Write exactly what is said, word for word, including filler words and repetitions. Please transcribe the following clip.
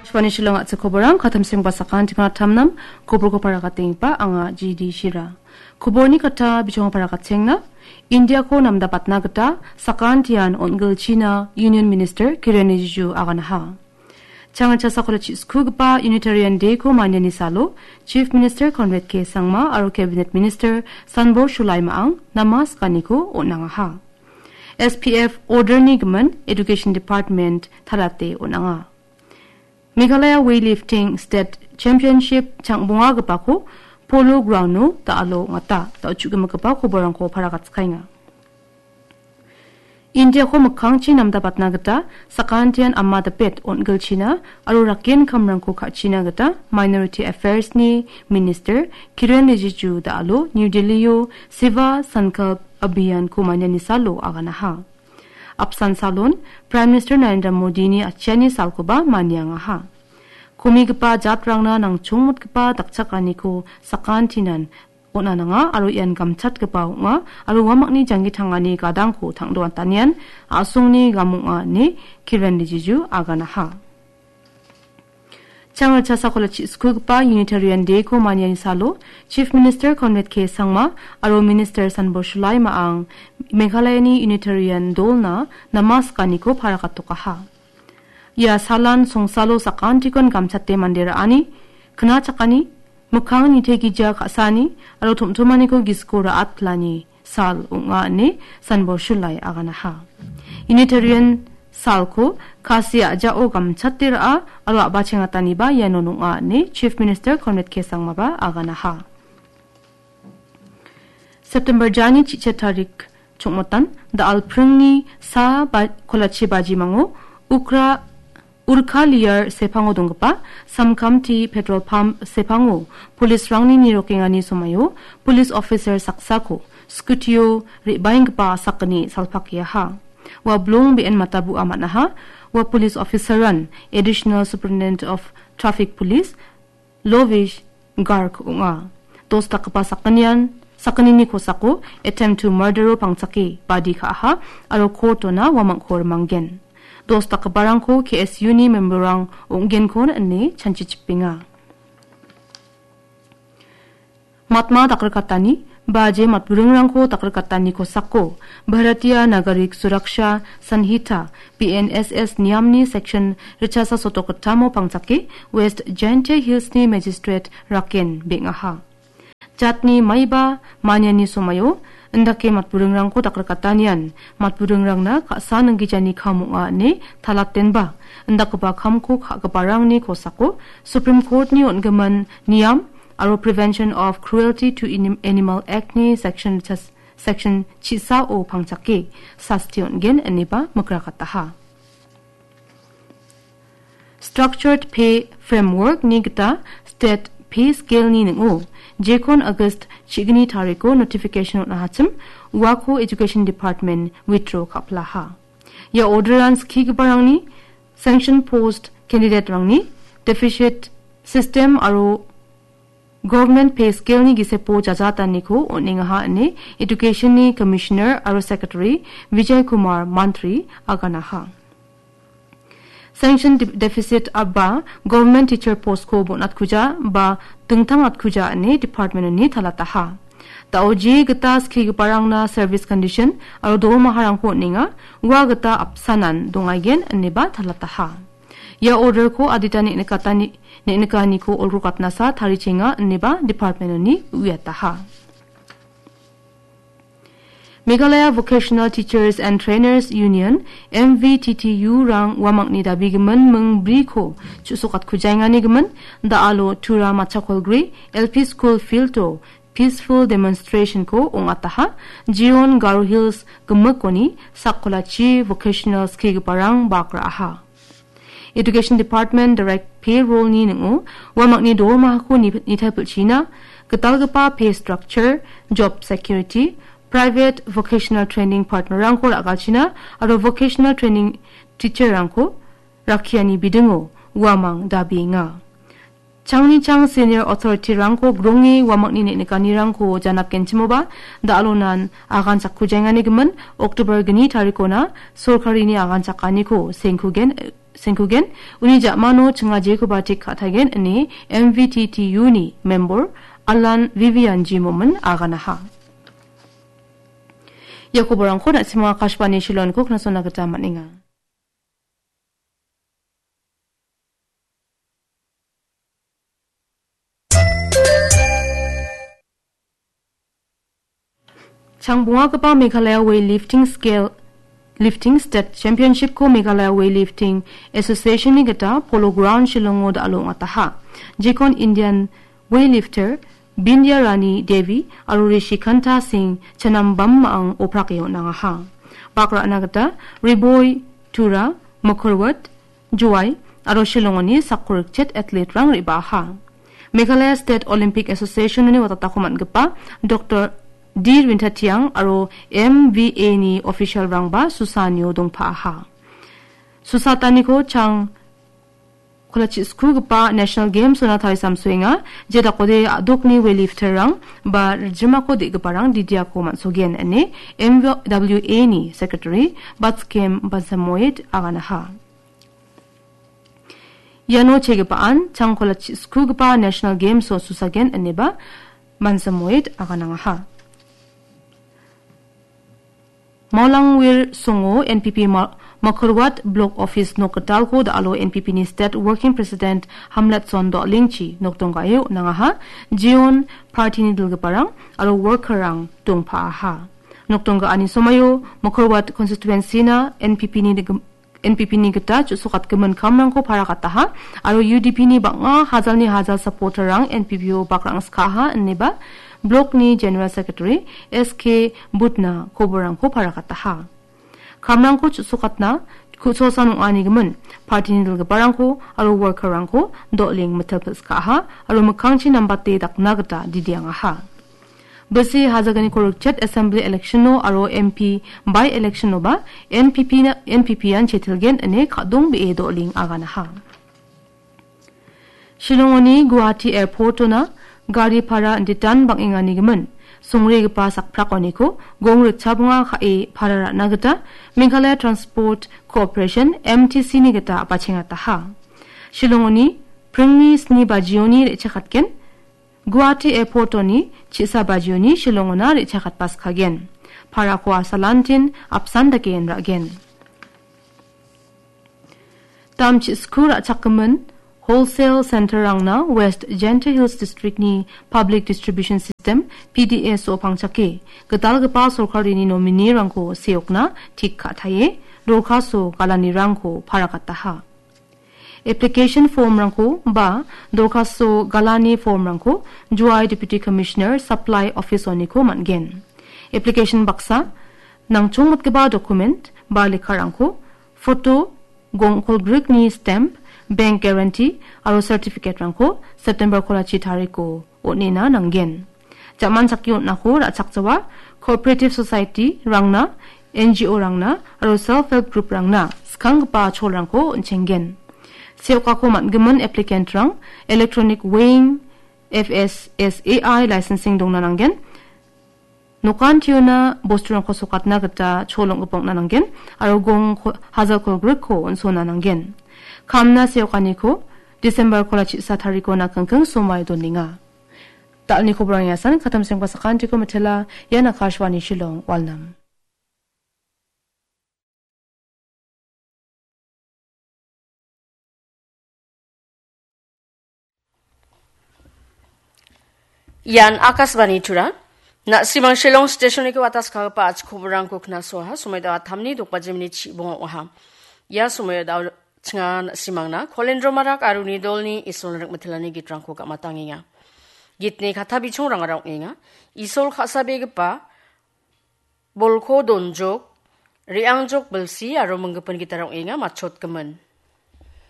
Shivani Shillong a·chik koborang, katamsengba sakantikna tamnam, koborko paragatengipa anga G D Shira. Koborni kata bichonga paragatenga, Indiako namdabatna gita sakantian on·gilchina Union Minister Kiren Rijiju aganaha. Changrikchasa kolachi skugipa Unitarian Day-ko maniani salo, Chief Minister Conrad K Sangma aro Cabinet Minister Sanbor Shulai Ma·ang namaskaniko on·angaha. S P F order-ni gimin Education Department talate on·anga. Meghalaya Weightlifting State Championship changbongagipako Polo Ground-o da·alo ong·ata, da·o chu·gimigipa koborrangko paragatskaenga. Indiako mikkangchi namdabatna gita sakantian ama dapet on·gilchina aro rakien kamrangko ka·china gita Minority Affairs-ni Minister Kiren Rijiju da·alo New Delhi-o Seva Sankalp Abhiyan-ko maniani salo aganaha. Apsan salon Prime Minister Narendra Modi-ni atchiani salkoba maniangaha. Komigipa jatrangna nangchongmotgipa dakchakaniko sakantinan on·a nanga aro ian gamchatgipa ong·a aro uamangni janggi tangani gadangko tangdoantanian a·songni gam ong·a ine Kiren Rijiju aganaha. Changrikchasa kolachi skugipa Unitarian Day-ko maniani salo Chief Minister Conrad K Sangma aro Minister Sanbor Shulai Ma·ang Meghalayani Unitarian dolna namaskaniko paragatokaha. Ia salan songsalo sakantikon gamchate mande ra·ani, knachakani, mikkang nitegija ka·sani aro tom·tomaniko gisiko ra·atpilani sal ong·a ine Sanbor Shulai aganaha. Unitarian salko kasi a·jao gamchate ra·a aro a·bachengataniba iano nong·a ine Chief Minister Conrad K Sangmaba aganaha. September jani chi·chet tarik chongmotan da·al pringni sa ba-, kolachi bajimango Ukra Urkha Liar sepango donggipa Samkamti petrol pump sepango polisrangni nirokengani somaio polis officer saksako scooty-o re·baenggipa sakgni salpakeaha. Ua blong be·en matabu·a man·aha. Ua polis officer-an Additional Superintendent of Traffic Police Lovish Garg ong·a. Dos dakgipa sakgnian, sakgnini kosako attempt to murder-o pangchake badi ka·aha aro court-ona uamangko rimanggen. Dos dakgiparangko K S U-ni member-rang ong·genkon ine chanchichipenga. Matma dakrikatani, baje matburingrangko dakrikatani kosako, Bharatiya Nagarik Suraksha Sanhita, B N S S niamni section richasa sotokgittamo pangchake, West Jaintia Hills-ni Magistrate Raken beng·aha. Jatni maiba maniani somaio, indake matburingrangko dakrikatanian, matburingrangna ka·sa ninggijani kam ong·a ine talatenba, indakgipa kamko ka·giparangni kosako, Supreme Court-ni on·gimin niam aro Prevention of Cruelty to Anim-, Animal Act-ni section chas-, section chisao pangchake sasti on·gen ineba mikrakataha. Structured Pay Framework-ni gita State Pay Scale-ni ning·o, jekon August chigni tariko notification on·ahachim, uako Education Department withdraw ka·pilaha. Ia order-an skigiparangni, sanction post candidate-rangni, deficit system aro Government Pay Scale-ni gisepo jajataniko on·engaha ine Education-ni Commissioner aro Secretary Vijay Kumar Mantri aganaha. Sanction de-, deficit aba government teacher post-ko bon·atkuja ba dingtang atkuja ine department-oni talataha. Da·o je gita skigiparangna service condition aro dormaharangko on·enga, ua gita apsanan dongaigen ineba talataha. Ia order-ko adita neng·nikatani-, neng·nikaniko olgrokatnasa tarichenga ineba department-oni uiataha. Meghalaya Vocational Teachers and Trainers Union, M V T T U-rang uamangni dabigimin ming briko chu·sokatkujaengani gimin, da·alo Tura Machakolgre L P School Field-o peaceful demonstration-ko ong·ataha, Jiron Garo Hills gimikoni sakkolachi vocational skigiparang bak ra·aha. Education Department Direct Payroll-ni ning·o, uamangni dormahako ni-, nitaichina, gitalgipa pay structure, job security, private vocational training partner-rangko ra·galchina aro vocational training teacher-rangko rakkiani bidingo uamang dabienga. Changni chang senior authority-rangko gronge uamangni neng·nikanirangko janapgenchimoba, da·alonan agan chakkujaengani gimin, October gni tarikona sorkarini agan chakaniko sengkugen, sengkugen, uni ja·mano chingajekoba tik ka·taigen ine M V T T U-ni member Alan Vivian G. Momin aganaha. Ia koborangko na·sima Akashvani Shillongko knasona gita man·enga. Changbongagipa Meghalaya Weightlifting Scale Lifting State Championship-ko Meghalaya Weightlifting Association-ni gita Polo Ground Shillongo da·alo ong·ataha. Jekon Indian weightlifter Bindya Rani Devi aro Rishikanta Singh Chanambam ma·ang oprake on·angaha. Bak ra·na gita Riboi, Tura, Mokorwat, Jowai aro Shillongoni sakkorikchet athlete-rang re·baaha. Meghalaya State Olympic Association-oni watatako man·gipa Doctor D Rintatiang aro M V A-ni official-rangba Susanio dongpaaha. Susataniko chang kolachisukugipa National Games-ona tarisamsoenga, je dakode a·dokni weightlifter-rang ba rijimako de·giparang didiako man·sogen ine M W A-ni secretary Batskem Bansamoit aganaha. Iano chegipaan changkola chi-, skugipa National Games-o susagen ineba Mansamoit aganangaha. Maulangwir songo N P P Ma-, Makarwat Block Office nok gitalko da·alo N P P-ni State Working President Hamletson Dolingchi nokdong ga·e on·angaha. Jeon party-ni dilgiparang aro worker-rang dongpaaha. Nokdong ga·ani somaio Makarwat constituency-na N P P-ni digim-, N P P-ni gita chu·sokatgimin kamrangko paragataha aro U D P-ni bang·a hajalni hajal supporter-rang N P P-o bakrang skaha ineba blok-ni General Secretary S K Butna koborrangko paragataha. Kamrangko chu·sokatna ku·sosan ong·anigimin party-ni dilgiparangko aro worker-rangko Doling mitel pil·skaha aro mikkangchi nambate dakna gita didiangaha. Bisi hajaganiko rikchet Assembly election-o aro M P by-election-oba N P P-na, N P P-an chetilgen ine kadongbee Doling aganaha. Shillongoni Guwahati Airport-ona gari para inditan bang·enganigimin songregipa sakprakoniko gong ritchabonga ka·e para ra·na gita Meghalaya Transport Corporation, M T C-ni gita bachengataha. Shillongoni pringni sni bajioni re·chakatgen Guwahati Airport-oni chisa bajioni Shillongona re·chakatbaskagen. Parako asalantin apsan dake inra·gen. Damchi sku ra·chakgimin Wholesale Center-rangna West Jaintia Hills District-ni Public Distribution System, P D S-o pangchake, gitalgipa sorkarini nominee-rangko seokna tik ka·taie, dorkaso galanirangko paragataha. Application form-rangko ba dorkaso galani form-rangko Jowai Deputy Commissioner Supply Office-oniko man·gen. Application baksa, nangchongmotgipa document ba lekkarangko, photo, gongkolgrikni stamp, bank guarantee aro certificate-rangko September kolachi tariko on·ena nanggen. Jaman chakki on·ako ra·chakjawa, cooperative society-rangna, N G O-rangna aro self help group-rangna skanggipa cholrangko on·chenggen. Seokako man·gimin applicant-rang electronic weighing, F S S A I licensing dongna nanggen. Nokan tiona bosturangko sokatna gita chol ong·gipa ong·na nanggen aro gong ko-, hajal kolgrikko on·sona nanggen. Kamna seokaniko December kola chisa tariko nakingking somai donenga. Dal·ni koborang iasan katam sengpa sakantiko mitela, ian Akashvani Shillong, Walnam. Ian Akashvani Tura. Na·simang Shillong Station-niko ataskagipa achikoborangko knasoaha, somoi da·a tamni dokbaji minit chibonga ong·aha. Ia somoio da·o chinga na·simangna Kolendro Marak aro uni dolni Isolni rikmitelani gitrangko gam·atangenga. Gitni kata bichongrangara ong·enga. Isol ka·sabegipa bolko donjok, re·angjok bilsi aro minggipin gitarang ong·enga matchotgimin.